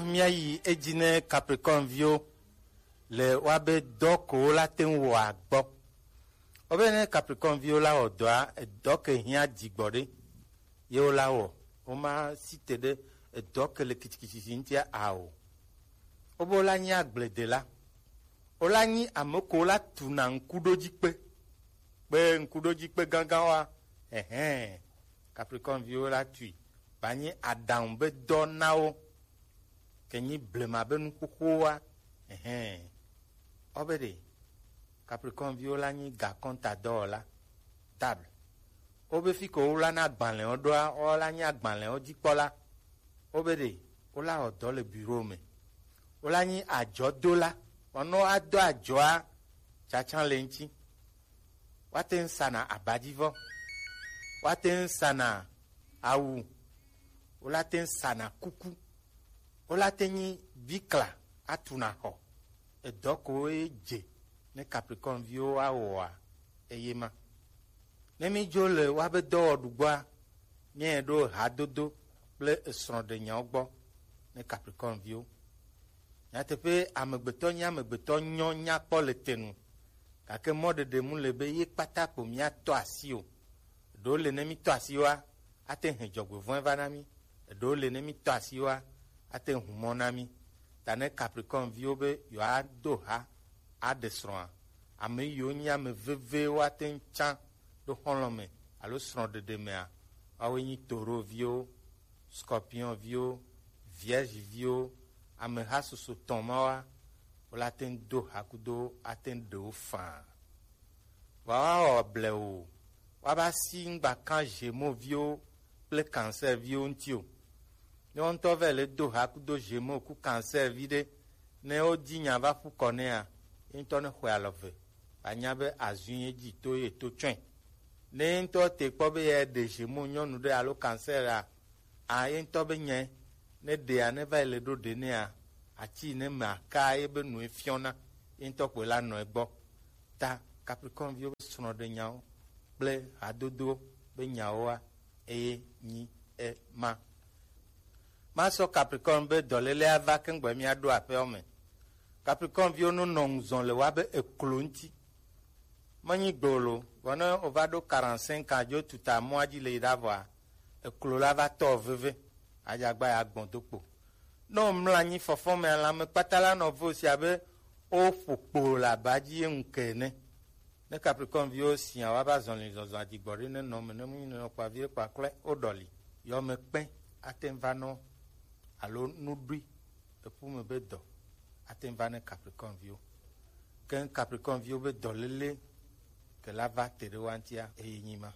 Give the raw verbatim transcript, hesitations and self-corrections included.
Míayi edzi ne Capricorne viwo le woabe dɔ ko wola te ŋu wɔa gbɔ. Wobe ne Capricorne viwo la wɔ dɔa, edɔ ke hiã dzigbɔ ɖe ye wola wɔ. Woma si te ɖe edɔ ke le kitikititi ŋutia ao. Wobe wola nyi agbledela. Wola nyi ame ko wola tuna ŋkuɖodzikpe. Kpe ŋkuɖodzikpe gãgã wa, ɛhɛn, Capricorne viwo la tui. Ba nyi aɖaŋu be dɔ na wo. Ke nyi blema be nuxoxowoa, ɛhɛn. Ɔ be ɖe, Capricorne viwo la nyi gakɔnta dɔwɔla, table. Wo be fi ko wo la na agbalẽwo ɖoa, wo la nyi agbalẽwo dzikpɔla. Wo be ɖe, wo la wɔ dɔ le bureau me. Wo la nyi adzɔdola. Wɔnɔ adɔ adzɔa tsatsa le ŋuti. Woate ŋu sana abadzivɔ. Woate ŋu sana awu. Wolate ŋu sana kuku. Wolate nyi bikla atuna xɔ. Edɔ ko ye dze ne Capricorne viwo awɔa eye ma. Ne mi dzo le woabe dɔwɔɖugbɔa, míaɖo hadodo kple esrɔ̃ɖenyawo gbɔ ne Capricorne viwo. Nyateƒe, amegbetɔ nye amegbetɔ nyɔ nyakpɔ le te nu, gake mɔɖeɖe mu le be ye kpata kpo míatɔ asi o. Eɖewo le ne mítɔ asi wa, ate hɛ dzɔgbevɔ̃e va na mí. Eɖewo le ne mítɔ asi wa, ate hu mɔ na mí. Ta ne Capricorne viwo be yewoado ha aɖe srɔ̃a, ame yiwo nye ame vevewo ate ŋu tsã ɖo xɔlɔ̃ me alo srɔ̃ɖeɖe mea, woawoe nyi Taureau viwo, Scorpion viwo, Vierge viwo, ameha susu tɔn ma wa, wola te ŋu do ha kudo ate ŋu ɖe wo faa. Vɔa woawɔ blewu, woava si ŋgba kan Gémeaux viwo kple Cancer viwo ŋuti o. Ne wo ŋutɔ va le do ha kudo Gémeaux ku Cancer vi ɖe, ne wodi nya va ƒu kɔ nɛa, ye ŋutɔ ne xɔe alɔ ve, anya be azui ye dzi to ye to tsɔe. Ne ye ŋutɔ te kpɔ be ye ɖe Gémeaux nyɔnu ɖe alo Cancer a, a ye ŋutɔ be nyae, ne ɖea ne va yi le ɖo ɖe nɛa, atsi ne me aka ye be nue fiɔna, ye ŋutɔ kpoe la nɔ egbɔ. Ta Capricorne viwo be srɔ̃ɖenyawo kple hadodowo be nyawoa, eye nyi ema. Masɔ Capricorne be dɔléle ava keŋgbɔ míaɖo aƒewo me. Capricorne viwo no nɔ ŋuzɔn le woabe eklo ŋuti. Menyi gbolo, vɔ ne wova ɖo quarante-cinq ans dzo tuta mɔa dzi le yi ɖa vɔa, eklo la va tɔ veve, adzagba ya gbɔn do kpo. Ne womlɔ anyi fɔfɔ me, lãme kpata la nɔ vo si abe woƒo kpo le aba dzi ye ŋu ke ene. Ne Capricorne viwo sia woava zɔli zɔzɔ adzigbɔ ɖe ne nɔ me ne mu nɔ kpa vie kpa klɔe woɖɔli. Yɔme kpɛ ate ŋu va nɔ alo nuɖui eƒu me be dɔ ate ŋu va ne Capricorne viwo. Ke Capricorne viwo be dɔléle ke la va te ɖe woa ŋutia eye nyi ma.